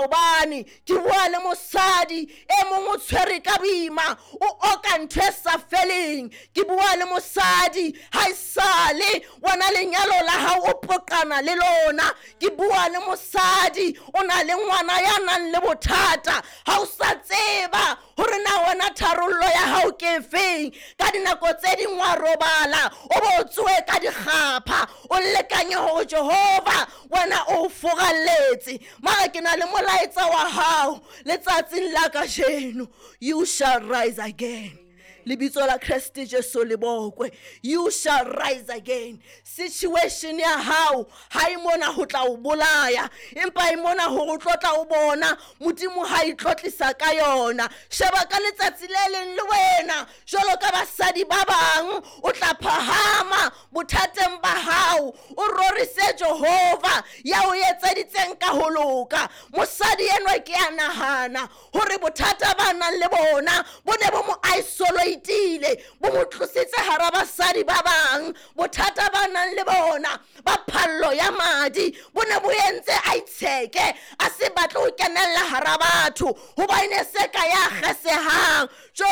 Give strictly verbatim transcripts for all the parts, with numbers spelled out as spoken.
Maobane ke bua le mosadi e mong o tshwere ka boima, o oka ntho e sa feleng. Ke bua le mosadi ha esale wena lenyalo la hao o poqana le lona. Ke bua le mosadi o na le ngwana ya nang le bothata, ha o sa tseba hore na wena tharollo ya hao ke efeng. Ka dinako tse ding wa robala o bo tsohe ka dikgapha, o lekanye hore Jehova wena o furalletse. Mara ke na le molaetsa wa hao letsatsing la kajeno, you shall rise again. Lebitso la Kreste Jesu le bokwe. You shall rise again. Situation ya hao ha e mona ho tla o bolaya, empa e mona hore o tlo tla o bona Modimo ha e tlotlisa ka yona. Sheba ka letsatsi le leng le wena jwalo ka basadi ba bang o tla phahama bothateng ba hao, o rorise Jehova ya o etseditseng ka ho loka. Mosadi enwa ke a nahana hore bothata ba nang le bona bo ne bo mo isolate-ile, bo mo tlositse hara basadi ba bang. Bothata ba nang le bona ba phallo ya madi bo ne bo entse a itsheke, a se batle ho kenella hara batho hobane se ka ya kgesehang. Jo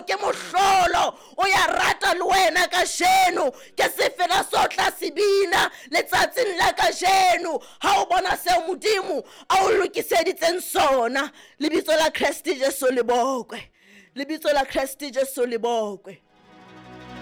ke mohlolo o ya rata le wena kajeno, ke sefela so tla se bina letsatsing la kajeno ha o bona seo Modimo a o lokiseditseng sona. Lebitso la Kreste Jesu le bokwe. Lebitso la Kreste Jesu le bokwe.